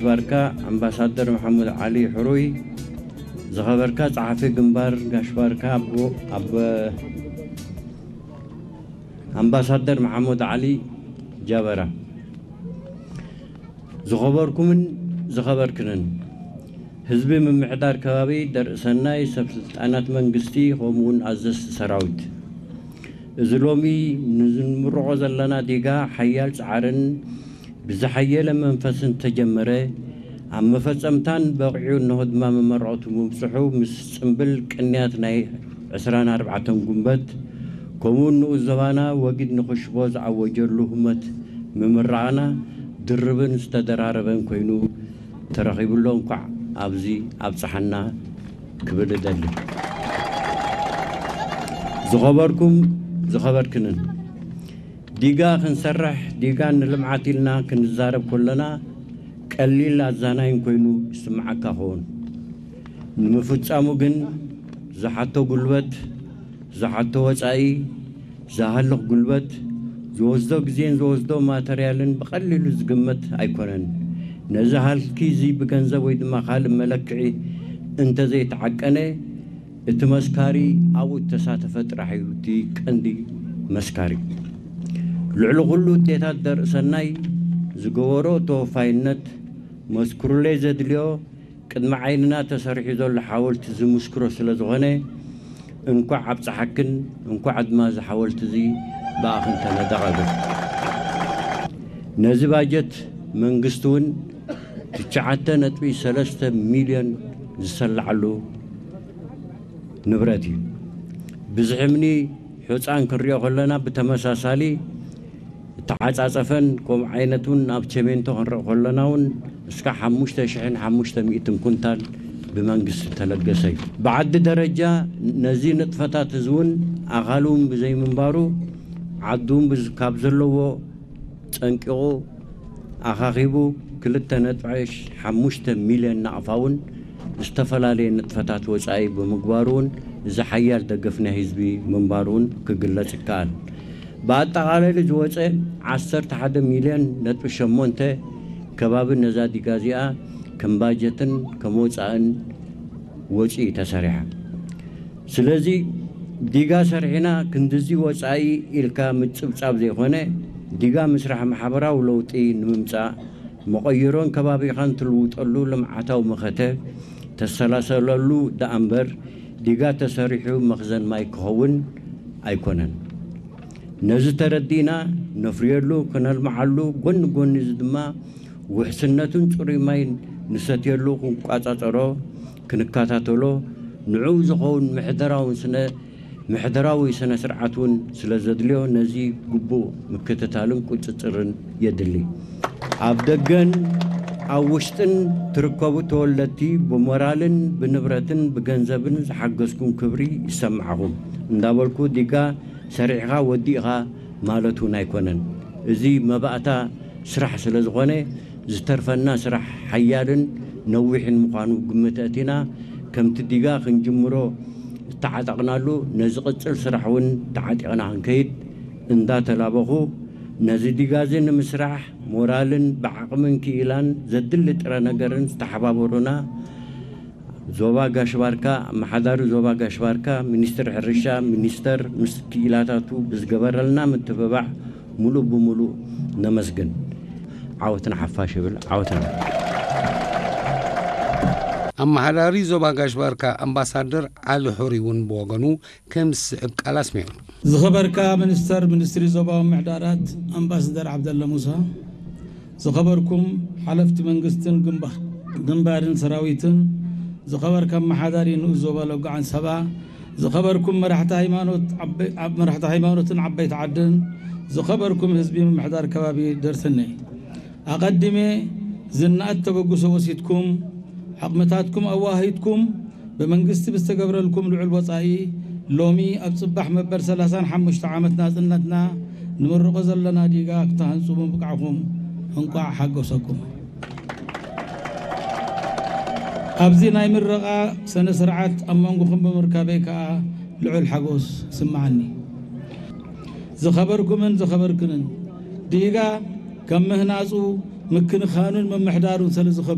ባርካ ኣምባሳደር መሓሙድ ዓሊ ሕሩይ፣ ዝኸበርካ ጸሓፊ ግንባር ጋሽ ባርካ ኣቦ-፣ ኣበ-፣ ኣምባሳደር መሓሙድ ዓሊ ጃበራ፣ ዝኸበርኩምን ዝኸበርክንን ህዝቢ ምምሕዳር ከባቢ ደርእ ሰናይ፣ ሰብ ስልጣናት መንግስቲ፣ ከምኡውን ኣዘዝቲ ሰራዊት፣ እዚ ሎሚ ንዝንምርቖ ዘለና ዲጋ ሓያል ጻዕርን ብዝሓየለ መንፈስን ተጀመረ፣ ኣብ መፈጸምታን በቒዑ እንሆ ድማ መመረቕቱ ምብጽሑ፣ ምስ ጽምብል ቅንያት ናይ ዕስራን ኣርባዕተን ጉንበት፣ ከምኡውን ንኡስ ዞባና ወጊድ ንኽሽቦ ዝኣወጀሉ ህሞት ምምራቕና ድርብን ዝተደራረበን ኮይኑ ተረኺቡሎ። እንኳዕ ኣብዚ ኣብጽሓና ክብል እደሊ። ዝኸበርኩም ዝኸበርክንን፣ ዲጋ ክንሰርሕ፣ ዲጋ ንልምዓት ኢልና ክንዛረብ ከለና፣ ቀሊል ኣዛናይን ኮይኑ ይስምዓካ ኸውን። ንምፍጻሙ ግን ዝሓቶ ጉልበት፣ ዝሓቶ ወጻኢ፣ ዝሃልኽ ጉልበት፣ ዝወስዶ ግዜን ዝወስዶ ማተርያልን ብቐሊሉ ዝግመት ኣይኮነን። ነዚ ሃልኪ እዚ ብገንዘብ ወይ ድማ ካልእ መለክዒ እንተዘይተዓቀነ፣ እቲ መስካሪ ኣብኡ እተሳተፈ ጥራሕ እዩ እቲ ቀንዲ መስካሪ። ልዕሊ ኩሉ፣ ኣዴታት ደርእሰናይ ዝገበሮ ተወፋይነት መስክሩለይ ዘድልዮ፣ ቅድሚ ዓይንና ተሰሪሑ ዘሎ ሓወልቲ ዝምስክሮ ስለ ዝኾነ፣ እንኳዕ ኣብጽሓክን፣ እንኳዕ ድማ እዚ ሓወልቲ እዚ ብኣኽን ተነደቐ። ነዚ ባጀት መንግስቲ እውን ትሽዓተ ነጥቢ ሰለስተ ሚልዮን ዝሰላዓሉ ንብረት እዩ። ብዝሒ እምኒ ሑጻን ክንሪኦ ከለና፣ ብተመሳሳሊ እተዓጻጸፈን ከምኡ ዓይነት እውን ኣብ ቸሜንቶ ክንርኢ ከለና እውን እስካብ ሓሙሽተ ሽሕን ሓሙሽተ ሚእትን ኩንታል ብመንግስቲ ተለገሰ እዩ። ብዓዲ ደረጃ ነዚ ንጥፈታት እዚ እውን ኣኻሉ እውን ብዘይምንባሩ፣ ዓዱ እውን ብዝ-፣ ካብ ዘለዎ ጸንቂቑ ኣኻኺቡ ክልተ ነጥቢ ሓሙሽተ ሚልዮን ናቕፋ እውን ዝተፈላለየ ንጥፈታት ወጻኢ ብምግባሩ እውን እዚ ሓያል ደገፍ ናይ ህዝቢ ምንባሩ እውን ክግለጽ ይከኣል። ብኣጠቓላሊ ዝወጸ ዓሰርተ ሓደ ሚልዮን ነጥቢ ሸሞንተ ከባቢ ነዛ ዲጋ እዚኣ ከም ባጀትን ከም ወጻእን ወጪ እዩ ተሰሪሓ። ስለዚ ዲጋ ሰሪሕና ክንድዚ ወጻኢ ኢልካ ምጽብጻብ ዘይኮነ፣ ዲጋ ምስራሕ ማሕበራዊ ለውጢ ንምምጻእ፣ መቐይሮን ከባቢኻን ትልውጠሉ ልምዓታዊ መኸተ ተሰላሰለሉ ደኣ እምበር፣ ዲጋ ተሰሪሑ መኽዘን ማይ ክኸውን ኣይኮነን። ነዚ ተረዲእና ነፍርየሉ፣ ክነልምዓሉ፣ ጎኒ ጎኒ እዚ ድማ ውሕስነትን ጽሩይ ማይን ንሰትየሉ ክንቋጻጸሮ፣ ክንከታተሎ፣ ንዕኡ ዝኸውን ምሕደራውን ስነ-፣ ምሕደራዊ ስነ ስርዓት እውን ስለ ዘድልዮ፣ ነዚ ግቡእ ምክትታልን ቁጽጽርን የድሊ። ኣብ ደገን ኣብ ውሽጥን ትርከቡ ተወለድቲ፣ ብሞራልን ብንብረትን ብገንዘብን ዝሓገዝኩም ክብሪ ይሰማዕኹም እንዳበልኩ፣ ዲጋ ሰሪሕኻ ወዲእኻ ማለት እውን ኣይኮነን። እዚ መባእታ ስራሕ ስለ ዝኾነ፣ ዝተርፈና ስራሕ ሓያልን ነዊሕን ምዃኑ ግምት ኣእቲና፣ ከምቲ ዲጋ ክንጅምሮ ዝተዓጠቕናሉ፣ ነዚ ቅጽል ስራሕ እውን ተዓጢቕና ክንከይድ እንዳተላበኹ፣ ነዚ ዲጋ እዚ ንምስራሕ ሞራልን ብዓቕምን ክኢላን ዘድሊ ጥረ ነገርን ዝተሓባበሩና ዞባ ጋሽ ባርካ፣ ኣመሓዳሪ ዞባ ጋሽ ባርካ፣ ሚኒስትር ሕርሻ፣ ሚኒስተር ምስ ክኢላታቱ ብዝገበረልና ምትብባዕ ሙሉእ ብሙሉእ ነመስግን። ዓወት ንሓፋሽ ይብል። ዓወት ንሓፋሽ። ኣመሓዳሪ ዞባ ጋሽ ባርካ ኣምባሳደር ዓሊ ሑሪ እውን ብወገኑ ከም ዝስዕብ ቃል ኣስሚዑ። ዝኸበርካ ሚኒስተር ሚኒስትሪ ዞባዊ ምምሕዳራት ኣምባሳደር ዓብደላ ሙሳ፣ ዝኸበርኩም ሓለፍቲ መንግስትን ግንባ-፣ ግንባርን ሰራዊትን፣ ዝኸበርካ ኣመሓዳሪ ንኡስ ዞባ ሎጋዓን ሰባ፣ ዝኸበርኩም መራሕቲ ሃይማኖት ዓበ-፣ ዓብ-፣ መራሕቲ ሃይማኖትን ዓበይቲ ዓድን፣ ዝኸበርኩም ህዝቢ ምምሕዳር ከባቢ ደርሰነይ፣ ኣቐዲመ ዝነኣድ ተበግሶ ወሲድኩም፣ ዓቕምታትኩም ኣዋሂድኩም፣ ብመንግስቲ ብዝተገብረልኩም ልዑል ወጻኢ፣ ሎሚ ኣብ ጽባሕ መበል ሰላሳን ሓሙሽተ ዓመት ናጽነትና ንምርቆ ዘለና ዲጋ ክትሃንጹ ምብቃዕኩም እንቋዕ ሓጎሰኩም። ኣብዚ ናይ ምረቓ ስነ ስርዓት ኣብ መንጎኹም ብምርካበይ ከኣ ልዑል ሓጎስ ይስምዓኒ። ዝኸበርኩምን ዝኸበርክንን፣ ዲጋ ከም ምህናጹ ምክንኻኑን ምምሕዳሩን ስለ ዝኸብድ